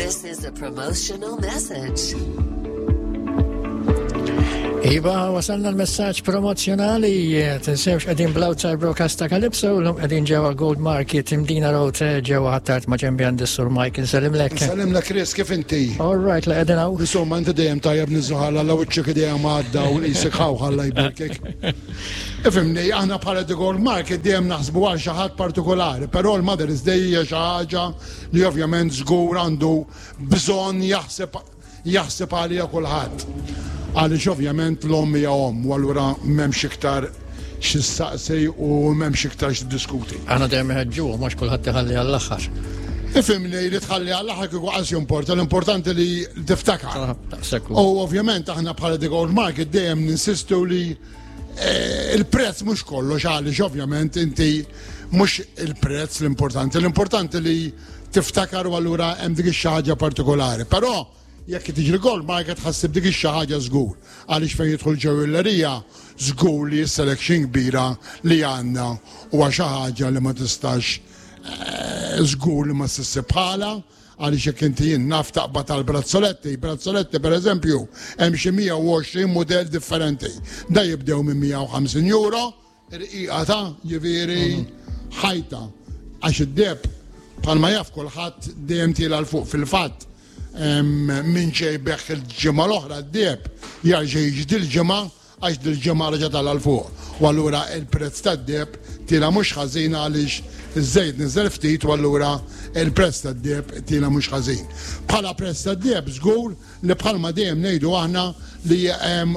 This is a promotional message. Iva, wasalna l-messaġġ promozjonali, tinsewx qegħdin bl-outside broadcast ta' Calypso, l-lum qegħdin ġewwa Gold Market, Imdina Road, ġewwa Ħattart ma' ġembi għandi Sur Mike, nsellimlek. Nsellimlek Chris, kif inti? All right, la qegħdin hawn. Insomma, inti dejjem tajjeb niżuħalla la wiċċek dejjem għadda u qisek ħawħalla jberkek. Ifimni, aħna bħala The Gold Market dejjem naħsbu għal xi ħadd partikolari, però l-Mother's Day hija xi ħaġa li ovvjament żgur għandu bżonn jaħseb jaħseb għaliha kulħadd. Għaliex ovvjament l-omm hija omm u allura m'hemmx iktar xi ssaqsi u m'hemmx iktar xi diskuti. Aħna dejjem iħeġġuhom għax kulħadd iħalli għall-aħħar. Ifimni li tħalli għall-aħħar kieku qas jimporta, l-importanti li tiftakar. U ovvjament aħna bħala The Gold Market dejjem ninsistu li eh, il-prezz mhux kollox għaliex ovvjament inti mhux il-prezz l-importanti, l-importanti li tiftakar u allura hemm dik ix-xi ħaġa partikolari. Però jekk tiġi l-gold market ħassib dik ix-xi ħaġa żgur għaliex fejn jidħol ġewellerija żgur li s-selection kbira li għandna huwa xi ħaġa li ma tistax eh, żgur li ma ssib bħala għaliex jekk inti jien naf taqbad tal-brazzoletti, brazzoletti per eżempju, hemm xi 120 mudell differenti. Da jibdew minn 150 euro Irqiqa ta' ġifieri ħajta għax id-deheb bħalma jaf kulħadd dejjem tiela' 'l fuq fil-fatt min ġej beħ il-ġimgħa l-oħra d-deheb jarġa' jiġi dil-ġimgħa għax dil-ġimgħa reġa' tala' 'l fuq u allura l-prezz tad-deheb tiela' mhux ħażin għaliex iż-żejt niżel ftit u allura l-prezz tad-deheb tiela' mhux ħażin. Bħala prezz tad-deheb żgur li bħalma dejjem ngħidu aħna li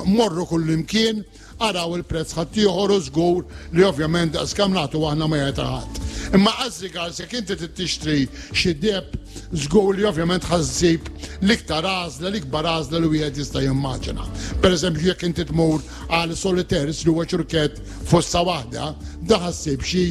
morru kullimkien Araw il-prezz ħaddieħor u żgur li ovvjament daqs kemm nagħtu aħna ma jagħti ħadd. Imma as regards jekk inti trid tixtri xi deheb żgur li ovvjament ħa ssib l-iktar għażla, l-ikbar għażla li wieħed jista' jimmaġina. Pereżempju jekk inti tmur għal solitaires li huwa ċurkett fossa waħda, da ħa ssib xi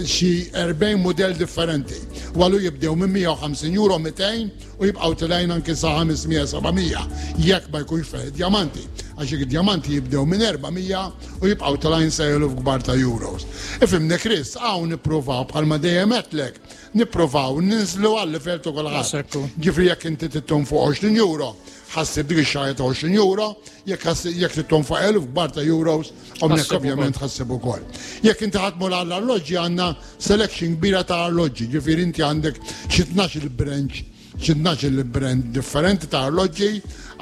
xi 40 mudell differenti. U għallu jibdew minn 150 euro 200 u jibqgħu tilgħin anki sa 500 700 jekk ma jkunx fih id-djamanti għax jekk id-djamanti jibdew minn 400 u jibqgħu tilgħin sa eluf kbar ta' euros. Ifhimni Chris, hawn nippruvaw bħalma dejjem għedtlek, nippruvaw ninżlu għal livell ta' kulħadd. Ġifieri jekk inti trid fuq 20 euro, ħassib dik ix-xahar ta' 20 euro, jekk jekk trid fuq eluf kbar ta' euros, hawnhekk ovvjament ħassib ukoll. Jekk inti ħa tmur għall-arloġġi għandna Selection kbira ta' arloġġi, ġifieri inti għandek xi 12 il-branch, xi 12 il-brand differenti ta' arloġġi,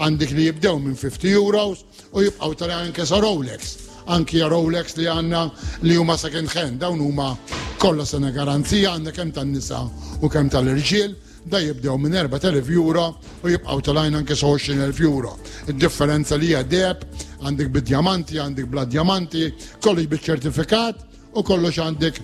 għandek li jibdew minn 50 euros u jibqgħu tara anke sa Rolex. Anki Rolex li għandna li huma second hand, dawn huma kollha sena garanzija għandna kemm tan-nisa u kemm tal-irġiel, da jibdew minn 4,000 euro u jibqgħu telgħin anke sa 20,000 euro. Id-differenza li hija deheb, għandek bid-djamanti, għandek bla djamanti, kollox biċ-ċertifikat, u kollox għandek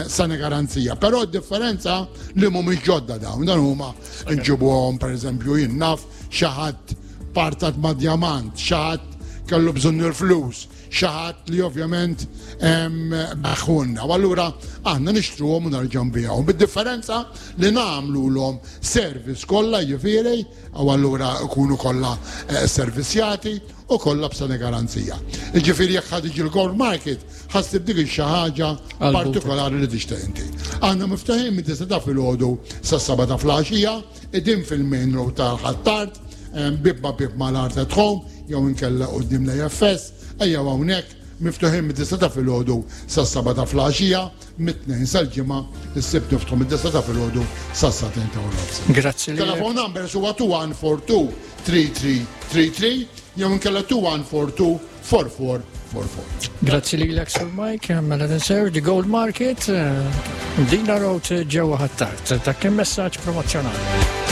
sena garanzija. Però d-differenza li mhumiex ġodda dawn, dan huma nġibuhom pereżempju jien naf xi ħadd partat ma' djamant, xi ħadd kellu bżonn il-flus, xi ħadd li ovvjament beħħulna. U allura aħna nixtruhom u nerġgħu nbigħuhom. Bid-differenza li nagħmlulhom service kollha jiġifieri, u allura jkunu kollha eh, servisjati u kollha b'sena garanzija. Jiġifieri jekk ħa tiġi l-gold market, ħassib dik xi ħaġa partikolari li tixtieq inti. Aħna miftuħin minn tista' ta' filgħodu sas-seba' ta' flaxija, qegħdin fil-main road ta' Ħ'Attard, bib ma' bib mal-Art at Home jew inkella quddiem l-AFS, ejjew hawnhekk miftuħin mid-disa ta' filgħodu sas-seba' ta' flaxija, mit-tnejn sal-ġimgħa, is-sibt niftħu mid-disa ta' filgħodu sas-sagħtejn ta' nofs. Grazzi. Telefon numbers huwa 2142 3333 jew inkella 2142 4444. Grazzi lilek Sir Mike, mela tinsew The Gold Market, eh, Dina Road ġewwa Ħ'Attard. Ta' kien messaġġ promozzjonali.